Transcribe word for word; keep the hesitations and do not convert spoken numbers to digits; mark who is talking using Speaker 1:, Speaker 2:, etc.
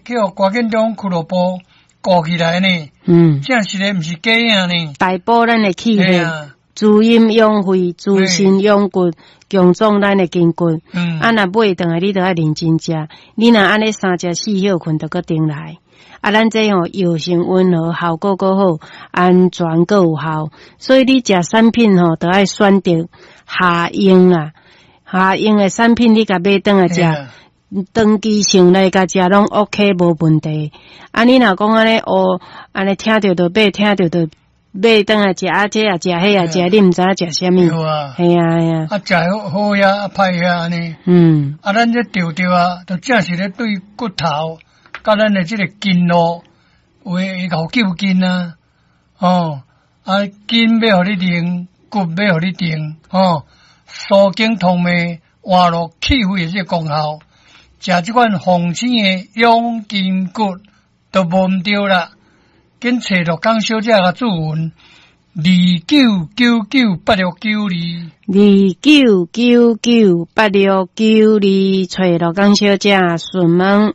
Speaker 1: 去予歌建中俱樂部顧起來呢。
Speaker 2: 嗯，
Speaker 1: 正實的毋是假影呢。
Speaker 2: 大補咱的氣血，
Speaker 1: 嘿啊，
Speaker 2: 滋陰養肺，滋身養骨，強壯咱的筋骨。
Speaker 1: 嗯，
Speaker 2: 啊，若買轉來，你著愛認真食。你若按呢三食四歇睏，就閣轉來。啊，咱這吼藥性溫和，效果閣好，安全閣有效。所以你食產品吼，著愛選擇下用啊，下用的產品你共買轉來食。
Speaker 1: 嘿啊
Speaker 2: 長期性來共食攏 OK 無問題。啊，你若講按呢哦，按呢聽著就買，聽著就買轉來食，啊，這也食，彼也食，你毋知影食啥物。
Speaker 1: 對啊，
Speaker 2: 嘿啊嘿啊，
Speaker 1: 啊，食好好呀，啊歹呀按呢。
Speaker 2: 嗯
Speaker 1: 啊，咱這著著啊，就正是咧對骨頭，佮咱的這个筋絡，有會會𠢕救筋啊，哦，啊，筋欲予你硬，骨欲予你定，哦，舒筋通脈、活絡氣血的這個功效，食這款鳳仙的養筋骨都無毋對啦。緊揣樂江小姐共諮詢，二九九九八六九二。
Speaker 2: 二九九九八六九二，揣樂江小姐詢問。